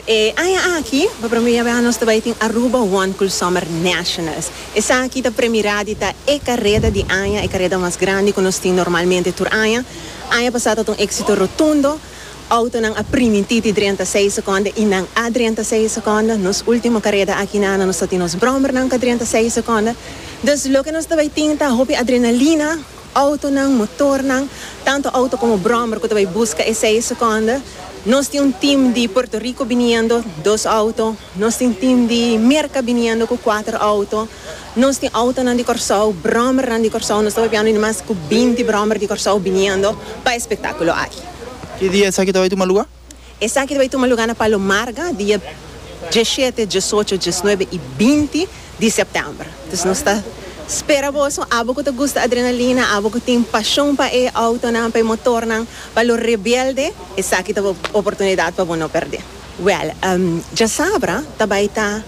E aña aki, pa prome biaha nos ta bai tin Aruba One Cool Summer Nationals. Esaki ta premira di ta e kareda di aña, e kareda mas grandi ku nos tin normalmente tur aña. Aña pasá ta un éksito rotundo. Outonan a primintí di drenta seis sekonde i nan a drenta seis sekonde. Nos último kareda aki na nos ta tin nos bròmernan ku a drenta seis sekonde. Dus loke nos ta bai tin ta hopi adrenalina, Autonan, motornan, tanto auto como brommer cu ta bay busca e seis seconde. Nos tin un team di Puerto Rico biniendo, dos auto. Nos tin team di Merca biniendo cu cuater auto. Nos tin autonan di Corsou, brommernan di Corsou. Nos ta papiando di mas cu binti brommer di Corsou biniendo pa e spectaculo aki. Ki dia esaki ta bay tuma luga? Esaki ta bay tuma luga na Palo Marga dia diesshete, diesocho, diesnuebe y binti di sèptèmber. Dus nos ta spera boso, abo ku ta gusta adrenalina, abo ku tin pashon pa e outonan, pa e motornan, pa lo rebelde, esaki ta bo oportunidat pa bo no pèrdè. Wèl, djasabra ta bai ta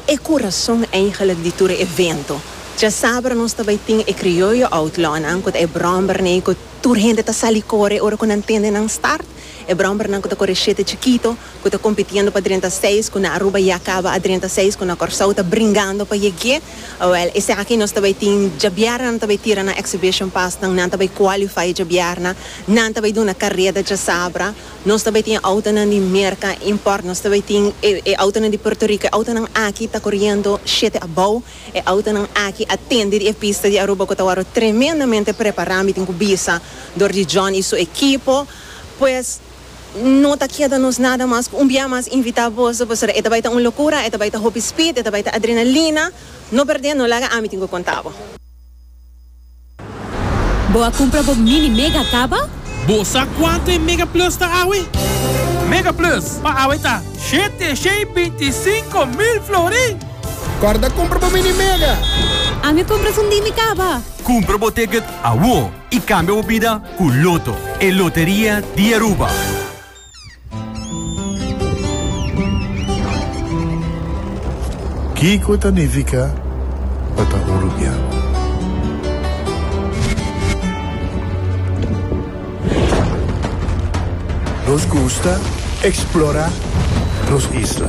e kurason eigenlik di tur e evento. Djasabra nos ta bai tin e krioyo outlawnan ku ta e bròmbernan ku tur hende ta sali kore ora ku nan tende nan start, e bròmbernan ku ta kore shete chikito. Ku ta kompitiendo pa drenta seis, ku na Aruba ya kaba a drenta seis, ku na Kòrsou ta bringando pa yeg'é. Awèl, esaki nos ta bai tin djabièrnè nan ta bai tira nan exhibition pasnan, nan ta bai qualify djabièrnè, nan ta bai duna kareda djasabra, nos ta bai tin e outonan di Merka import, nos ta bai tin e e outonan di Puerto Rico, e outonan aki ta koriendo shete abou, e outonan aki a tende di e pista di Aruba ku ta wòrdu tremendamente prepará, mi tin ku bisa, dor di John i su ekipo, pues. No ta keda nos nada mas ku un bia mas invitá boso pasobra e ta bai ta un lokura, e ta bai ta hopi speed, e ta bai ta adrenalina. No perdé, no laga ami tin ku konta bo. Bo a kumpra bo mini mega kaba? Bo sa kuantu e Mega Plus ta awe? Mega Plus pa awe ta 725 mil florin! Kòrda kumpra bo mini mega! Ami a kumpra esun di mi kaba! Kumpra bo ticket awo! Y cambia bo bida cu Lotto, e loteria di Aruba. Kiko ta nifica pa ta un Rubiano? Nos gusta explora nos isla.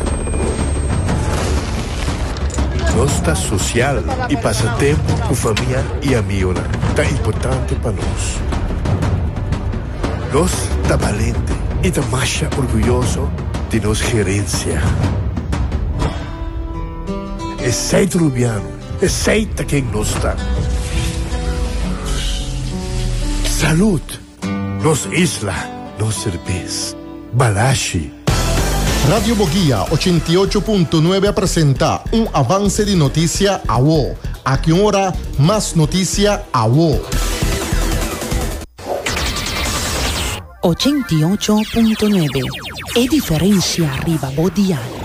Nos ta social y pasa tempo cu famia y amigonan ta importante pa nos. Nos ta balente y ta masha orguyoso di nos gerencia. Esey ta Rubiano, esey ta ken nos ta. Salud! Nos isla, nos serbes. Balashi. Radio Boguia 88.9 a presenta un avance di noticia awo. Aki un ora, mas noticia awo. 88.9 E diferencia riba bo dial.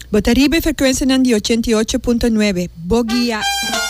Bo ta riba e frekuensianan di 88.9 Bo Guia.